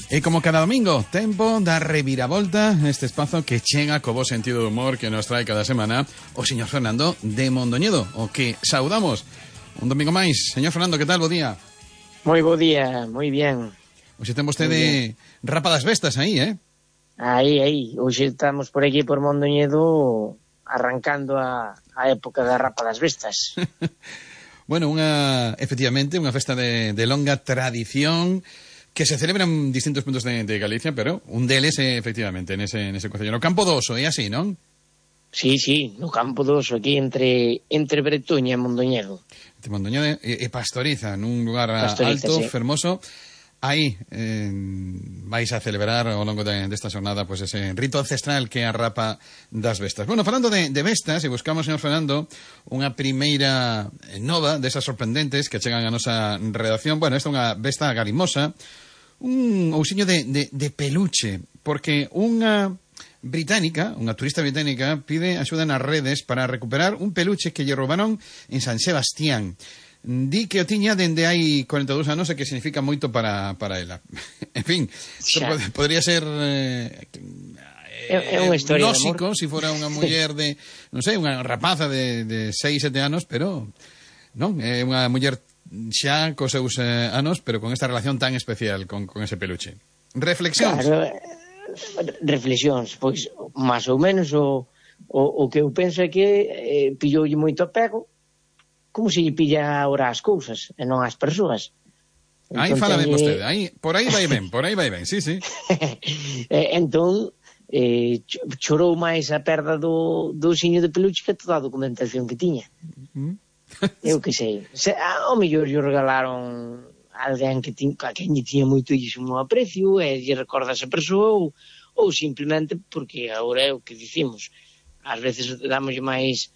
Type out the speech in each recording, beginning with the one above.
E como cada domingo, tempo da reviravolta neste espazo que chega co bo sentido do humor que nos trae cada semana o señor Fernando de Mondoñedo, o que saudamos un domingo máis. Señor Fernando, que tal? Bo día. Moi bo día, moi bien. Hoxe ten vostede rapa das bestas aí, eh? Aí. Hoxe estamos por aquí por Mondoñedo arrancando a época da rapa das bestas. Bueno, efectivamente, unha festa de longa tradición que se celebra en distintos puntos de Galicia, pero un deles, efectivamente, nese concello. No Campo do Oso, é así, non? Sí, no Campo do Oso, aquí entre Bretoña e Mondoñedo. Entre Mondoñedo e Pastoriza, nun lugar alto, sí, fermoso. Aí vais a celebrar ao longo desta xornada pues, ese rito ancestral que é a rapa das bestas. Bueno, falando de bestas, e buscamos, señor Fernando, unha primeira nova desas sorprendentes que chegan a nosa redacción. Bueno, esta é unha besta galimosa, un ousiño de peluche, porque unha turista británica, pide axuda nas redes para recuperar un peluche que lle roubaron en San Sebastián. Di que o tiña dende hai 42 anos e que significa moito para ela. En fin, podría ser é unha historia lógico se fora unha muller de, non sei, unha rapaza de 6, 7 anos, pero non, é unha muller xa cos seus anos, pero con esta relación tan especial con ese peluche. Reflexións. Claro, reflexións, pois máis ou menos o que eu penso é que pilloulle moito apego, como se lle pilla ahora as cousas e non as persoas. Aí fala ben vostede, por aí vai ben, sí. Entón, chorou máis a perda do osiño de peluche que toda a documentación que tiña. Eu que sei. Ao mellor lle regalaron alguén a quen lle tiña moitísimo aprecio e lle recorda a esa persoa ou simplemente porque agora é o que dicimos. Ás veces dámoslle máis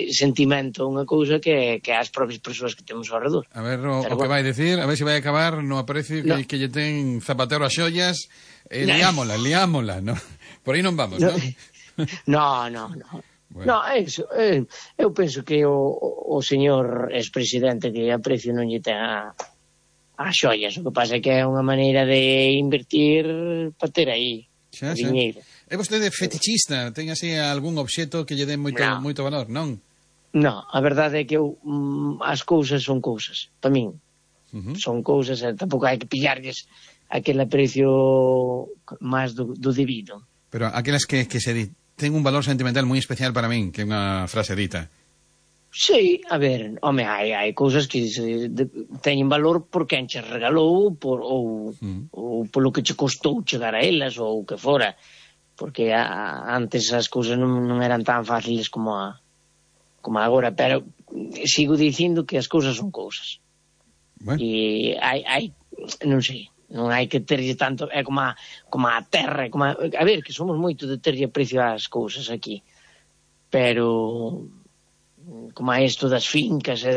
sentimento a unha cousa que as propias persoas que temos ao redor. A ver o que vai dicir, a ver se vai acabar no aprecio que lle ten Zapatero a xollas, liámola, no? Por aí non vamos, non? No. Bueno. No, eso, eu penso que o señor expresidente que aprecio non lle ten a xollas, o que pasa é que é unha maneira de invertir para ter aí diñeiro. É vostede fetichista? Ten así algún obxeto que lle den moito valor, non? Non, a verdade é que as cousas son cousas, para min. Son cousas e tampouco hai que pillarlles aquele aprecio máis do debido. Pero aquelas que se ten un valor sentimental moi especial para min, que é unha frase dita. Sí, a ver, home, hai cousas que teñen valor por quen che regalou ou polo que che costou chegar a elas ou o que fora, porque antes as cousas non eran tan fáciles como agora, pero sigo dicindo que as cousas son cousas. Bueno. E hai non sei, non hai que terlle tanto, é como a terra, a ver, que somos moito de terlle aprecio ás cousas aquí, pero como a isto das fincas,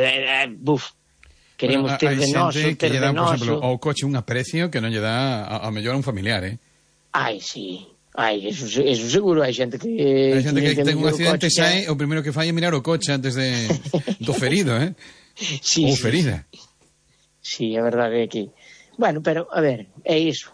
queremos ter de noso, ter de noso. Por exemplo, ao coche un aprecio que non lle dá a mellor a un familiar, sí. Eso seguro, hai xente que ten un accidente e sae, o primeiro que fai é mirar o coche antes do ferido, Sí, ou ferida. Sí, a verdade é que... Bueno, pero, a ver, é iso.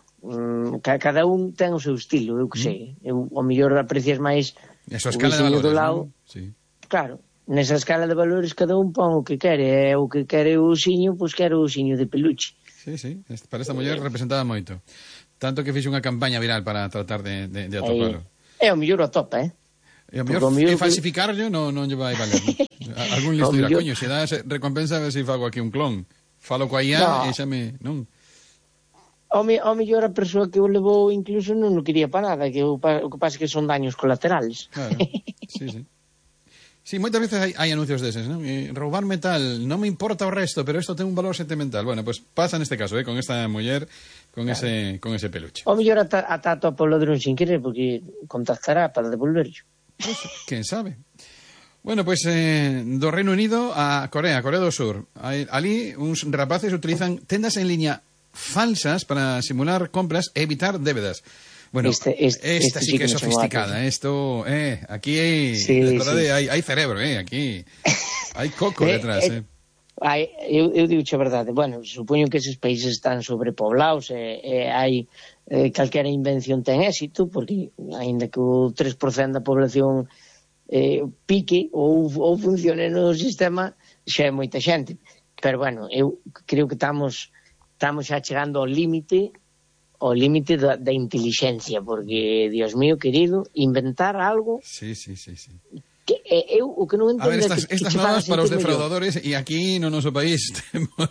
Cada un ten o seu estilo, eu que sei. O mellor aprecias máis o escala de valores, do lado. Sí. Claro, nesa escala de valores cada un pon o que quere. O que quere o osiño, pois quere o osiño de peluche. Sí, para esta muller representaba moito. Tanto que fixe unha campaña viral para tratar de atopalo. É o mellor o topa, E o mellor falsificarlo non lle vai valer. Algún listo dirá, coño, se dá recompensa a ver se fago aquí un clon. Falo coa IA e xa me... Non? O mellor a persoa que o levou incluso non o quería para nada, que o que pasa é que son daños colaterales. Claro, sí. Sí, moitas veces hai anuncios deses, non? Roubarme tal, non me importa o resto, pero isto ten un valor sentimental. Bueno, pues pasa neste caso, con esta muller, con ese peluche. O mellor ata topa o ladrón sin querer, porque contactará para devolverlo. Pues, quen sabe. Bueno, pues do Reino Unido a Corea do Sur. Ali uns rapaces utilizan tendas en liña falsas para simular compras e evitar débedas. Bueno, esta sí que é sofisticada. Esto, aquí hai cerebro, aquí hai coco detrás. Eu digo a verdade, bueno, supoño que eses países están sobrepoblados e hai calquera invención ten éxito, porque aínda que o 3% da población pique ou funcione no sistema, xa é moita xente. Pero bueno, eu creo que estamos xa chegando ao límite da inteligencia, porque, Dios mío querido, inventar algo... Sí. Que eu o que non entendo estas normas para os defraudadores, e aquí no noso país temos